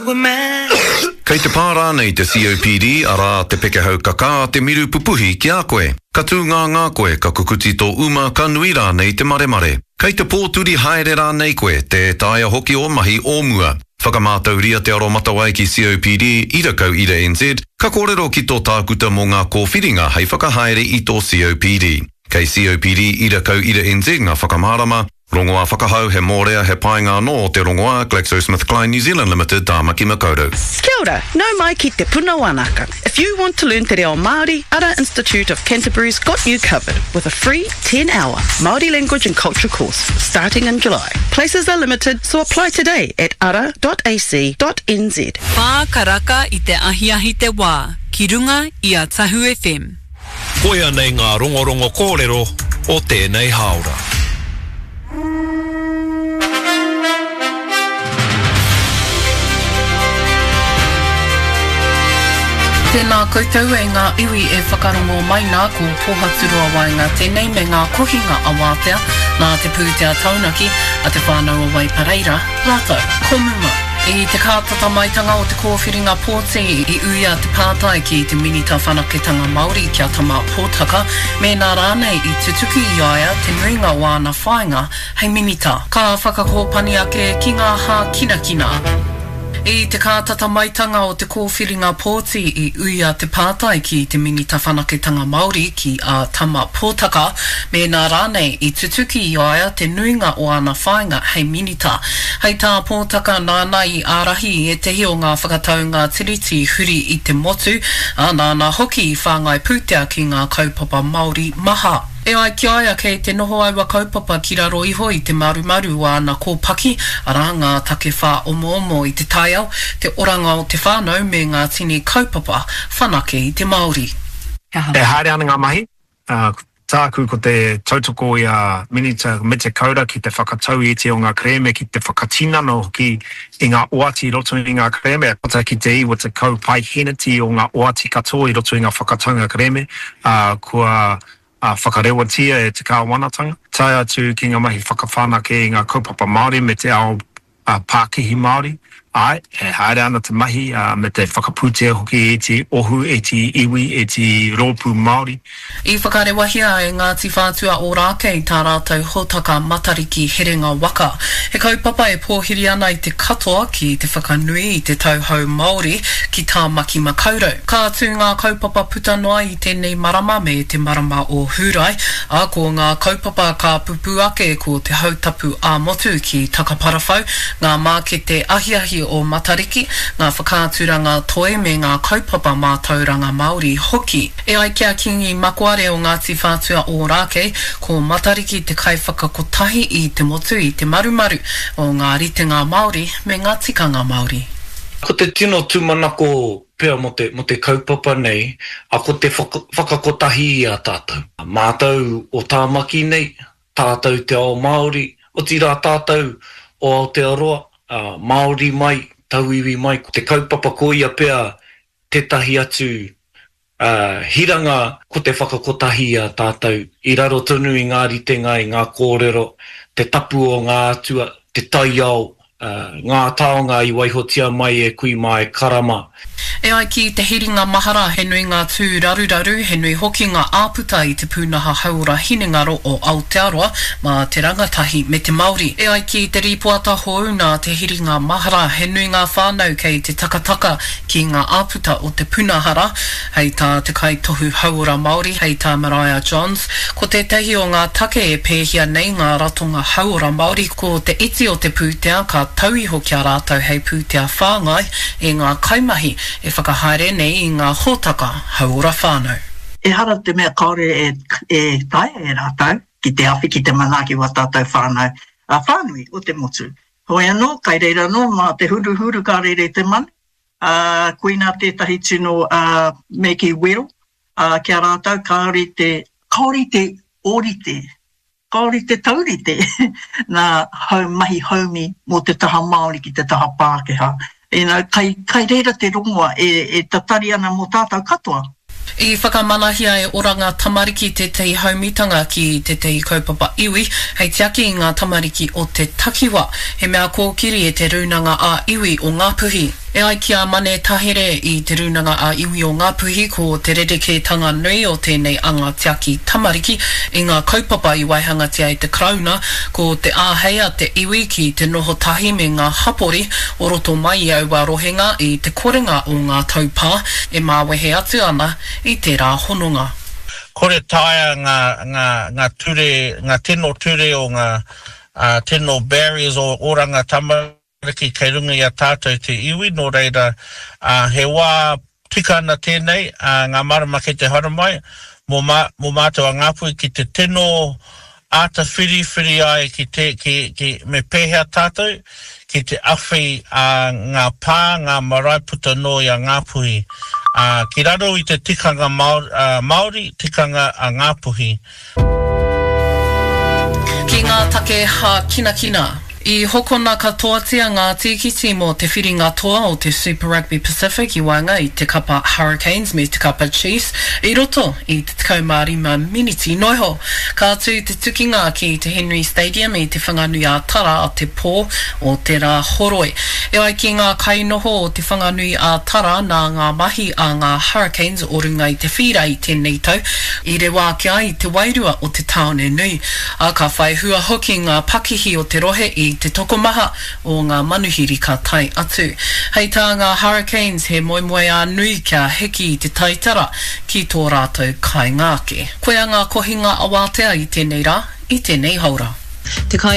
Kei te pā rānei te COPD, arā, te pekehau kakā, te miru pupuhi ki a koe? Ka tūngāngā koe, ka kukuti tō uma, ka nui rānei te maremare? Kei te pōturi haere rānei koe, tē taea hoki ō mahi o mua? Whakamātauria te aromatawai ki COPD, ira kau ira NZ, ka kōrero ki tō tākuta mō ngā kōwhiringa hei whakahaere i tō COPD. Kei COPD ira kau ira NZ ngā whakamārama, Rongoā whakahau, he mōrea, he painga anō o te rongoā, GlaxoSmithKline New Zealand Limited, Tāmaki Makaurau. Kia ora, nau mai ki Te Puna Wanaka. If you want to learn te reo Māori, Ara Institute of Canterbury's got you covered with a free 10-hour Māori language and culture course starting in July. Places are limited, so apply today at ara.ac.nz. Whā karaka i te ahiahi te wā, ki runga i a Tahu FM. Koia nei ngā rongorongo kōrero o tēnei hāora. Tēnā koutou e ngā iwi e whakarongo mai nā, ko Pōhaturoa Waenga tēnei me ngā kohinga awātea nā te pūtea taunaki a Te Whānau o Waipareira rātou ko Muma. I te kātata maitanga o te kōwhiringa pōti i uia te pātai ki te Minita Whanaketanga Māori ki a Tama Potaka mēnā rānei i tutuki i a ia te nuinga o āna whāinga hei Minita. Ka whakakōpani ake ki ngā hākinakina. I te kātata maitanga o te kōwhiringa pōti i uia te pātai ki te Minita Whanaketanga Māori ki a Tama Potaka mēnā rānei i tutuki i a ia te nuinga o āna whāinga hei Minita. Hei tā Potaka nāna i ārahi i ētehi o ngā whakataunga Tiriti huri i te motu, ā, nāna hoki i whāngai pūtea ki ngā kaupapa Māori maha. E ai ki a ia kei te noho aua kaupapa ki raro iho i te marumaru o āna kōpaki, arā, ngā take whāomoomo i te taiao, te oranga o te whānau me ngā tini kaupapa whanake i te Māori. E haere ana ngā mahi, ā, tāku ko te tautoko i a Minita Mete Kaura ki te whakatau i ētehi o ngā kerēme, ki te whakatinana hoki i ngā oati i roto i ngā kerēme, tata ki te 90 paeheneti o ngā oati katoa i roto i ngā whakataunga kerēme, ā, kua whakarewatia e te kāwanatanga, tae atu ki ngā mahi whakawhanake i ngā kaupapa Māori me te ao pākihi Māori. Āe, e haere ana te mahi, ā, me te whakapūtea hoki i ētehi ohu, ētehi iwi, ētehi rōpū Māori. I whakarewahia e Ngāti Whātua Ōrākei tā rātou hōtaka Matariki Herenga Waka. He kaupapa e pōhiri ana i te katoa ki te whakanui i te tau hou Māori ki Tāmaki Makaurau. Ka tū ngā kaupapa puta noa i tēnei marama me te marama o Hūrae, ā, ko ngā kaupapa ka pupū ake ko te Hautapu ā-Motu ki Takaparawhau, ngā mākete ahiahi o Matariki, ngā whakaaturanga toi me ngā kaupapa mātauranga Māori hoki. E ai ki a Kīngi Makoare o Ngāti Whātua Ōrākei, ko Matariki te kaiwhakakotahi i te motu i te marumaru o ngā ritenga Māori me ngā tikanga Māori. Ko te tino tūmanako pea mō te, mō te kaupapa nei, a ko te whakakotahi i a tātou. Mātou o Tāmaki nei, tātou te ao Māori, otirā tātou o Aotearoa, Māori mai, tauiwi mai, ko te kaupapa koia pea tētahi atu hiranga ko te whakakotahi i a tātou i raro tonu i ngā ritenga, i ngā kōrero, te tapu o ngā atua, te taiao, ngā taonga i waihotia mai e kui mā e kara mā. E ai ki te hiringa mahara, he nui ngā tū raruraru, he nui hoki ngā āputa i te pūnaha hauora hinengaro o Aotearoa mā te rangatahi me te Māori. E ai ki te rīpoata hou nā te hiringa mahara, he nui ngā whānau kei te takataka ki ngā āputa o te puna hara, hei tā te kaitohu hauora Māori, hei tā Maraea Johns, ko tētahi o ngā take e pēhia nei ngā ratonga hauora Māori ko te iti o te pūtea ka tau iho ki a rātou hei pūtea whāngai i ngā kaimahi e whakahaere nei i ngā hōtaka hauora whānau. Ehara te mea kāore e taea e rātou ki te awhi, ki te manaaki wā tātou whānau whānui o te motu. Hoi anō, kai reira anō mā te huruhuru ka rere te manu, ā, koinā tētahi tino, ā, me kī wero, ā, ki a rātou kāore te, kāore te ōrite, kāore te taurite nā hau mahi haumi mō te taha Māori ki te taha Pākehā. You know, kai, kai reira te rongoa e, e tatari ana mō tātou katoa. I whakamanahia e Oranga Tamariki tētahi haumitanga ki tētahi kaupapa iwi hei tiaki i ngā tamariki o te takiwa, he mea kōkiri e te Rūnanga ā-Iwi o Ngāpuhi. E ai ki a Mane Tahere i Te Rūnanga a Iwi o Ngāpuhi ko te rerekētanga nui o tēnei anga tiaki tamariki i ngā kaupapa i waihangatia e te Karauna ko te āhei a te iwi ki te noho tahi me ngā hapori o roto mai i aua rohenga i te korenga o ngā taupā e māwehe atu ana i tērā hononga. Kore taea ngā, ngā, ngā ture, ngā tino ture o ngā, ā, tino barriers o Oranga Tamariki. Tamariki kei runga i a tātou te iwi, nō reira, ā, he wā tika ana tēnei, ā, ngā marama kei te haramai, mō mā, mō mātou a Ngāpuhi ki te tino āta whiriwhiri ai ki te, ki, ki, me pēhea tātou ki te awhi, ā, ngā pā, ngā marae puta noa i a Ngāpuhi, ā, ki raro i te tikanga Māori, ā, Māori, tikanga a Ngāpuhi. Ki ngā take hākinakina. I hokona katoatia ngā tīkiti mō te whiringa toa o te Super Rugby Pacific i waenga i te kapa Hurricanes me te kapa Chiefs i roto i te 15 miniti noa iho. Ka tū te tukinga ki te Henry Stadium i Te Whanganui-a-Tara a te pō o te Rāhoroi. E ai ki ngā kainoho o Te Whanganui-a-Tara nā ngā mahi a ngā Hurricanes o runga i te whīra i tēnei tau i rewa ake ai te wairua o te tāone nui. Ā, ka whai hua hoki ngā pakihi o te rohe i te tokomaha o ngā manuhiri ka tae atu. Hei tā ngā Hurricanes, he moemoeā nui kia hiki i te taitara ki tō rātou kāinga ake. Koia ngā kohinga awātea i tēnei rā, i tēnei haora. Te kai.